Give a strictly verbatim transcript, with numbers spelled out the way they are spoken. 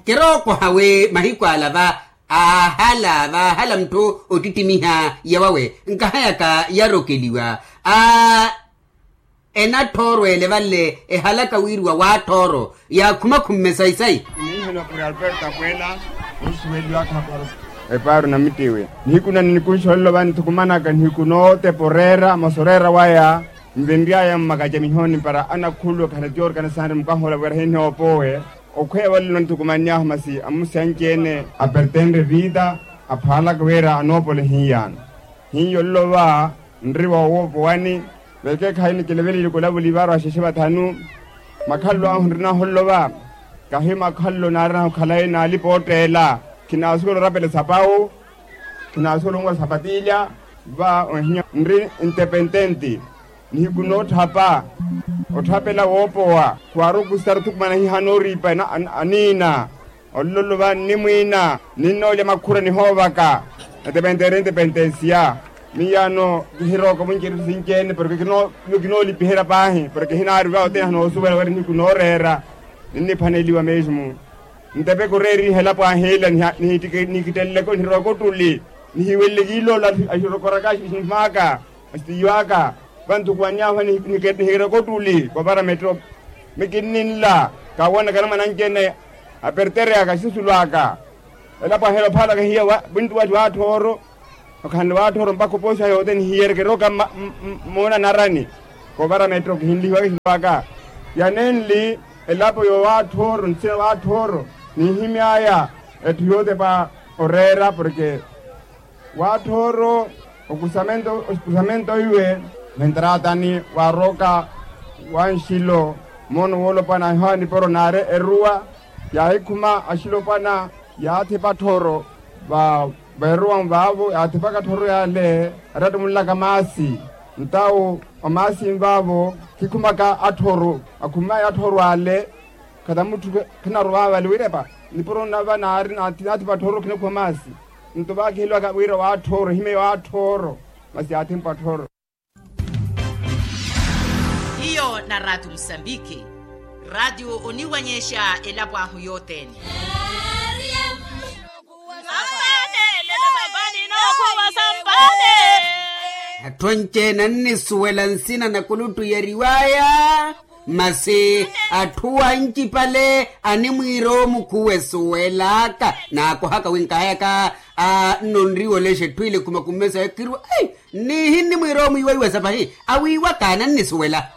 Kirookoha wi mahiku ala va aahala vaahala mutthu ottittimiha yawawe nkahayaka yarokeliwa a enathooro ele vanle ehalaka wiiriwa waathooro yaakhumakhumme sayi-sayi. Niihana kuri alberto apweela osuweliwaka epaaro na mittiwe nihiku nani nikunxolelo vanthukumanaka nihiku nootepa oreera masi oreera waya nvinry'aya mmakacamihoni para anakhulwe khana tiyoorikana sanri mukahoola wira hinnoopowe. Okhweya valelo nithukumannyahu masi amusi anci-ene apertenre vita aphwaalaka wira anoopole hiiyano hiyo nlova nri wa owoopowani. Vekeekhayi nikeleveleli kolavuli vaarwa axexe vathanu makhalelo ahu nrinahu nlova kahi makhalelo naarinahu khalayi naalipa ootteela khinaasuwela orapela esapawu khinaasuwela onwa sapatilya. Va ohinya nri ntepententi nihiku nootthapa otthapela woopowa khwaari okusitara othukumana hihana oriipa aniina olololo va nnimwiina ninnoolya makhura nihoovaka. Ntepententi ntepentensiya miyaano kihirooka munci erittu sinci-ene porke kinoolipiherya paahi porke hinaari va othene hanoosuwela wira nihiku nooreera ninniphwaneliwa mesmo. Ntepeke oreeriha elapo ahiila nikitteleleke onihirooka ottuli nihiwelele kiiloola ahirokoraka axinhim'aka asitiyo aka vanthukuwannyahu nihikereke ottuli kopara metto. Mikinninla kawoonakana mwananci-ene apertere aka axisulu aka elapo ahiila ophaala kahiya wintu watti waathooro okhanle waathooro mpakha opoosi ayo othene hiyereke erooka mmoona narani. Kopara metto kihinlihiwaka exinto aka yanenli elapo yowaathooro nsina waathooro niihimy'aya etthu yootepa oreera porke waathooro okusamento okusamento iwe. Ventratani waarooka wanxilo moono woolopwana ahihowa niporo naari eruwa yaahikhuma axilopwana yaathepa athooro va veerowa nvaavo yaathepaka athooro yaale. Attatta omulelaka maasi ntawo omaasi nvaavo khikhumaka atthoro akhumaya atthoro ale. Khata mutthu khinarowa vale wirepa nipuro nava naari naathi patthoro khinakhuwa maasi. Nto vaakiheliwaka wira waatthoro ehimeye waatthoro masi yaathi mpatthoro. Hiyo na ratio musambiki ratio oniwanyexa elapo ahu yothene. Atthu anci-ene annisuwela nsina na kuluttuyeriwaya. Masi atthu anci pale animwiira omukhuwa esuwelaka naakohaka wi nkahayaka. Nno nriwolexa etthu ile khumakummesa ekirwa. Nniihi nnimwiira omwiiwa iwasa pahi awiiwaka anannisuwela.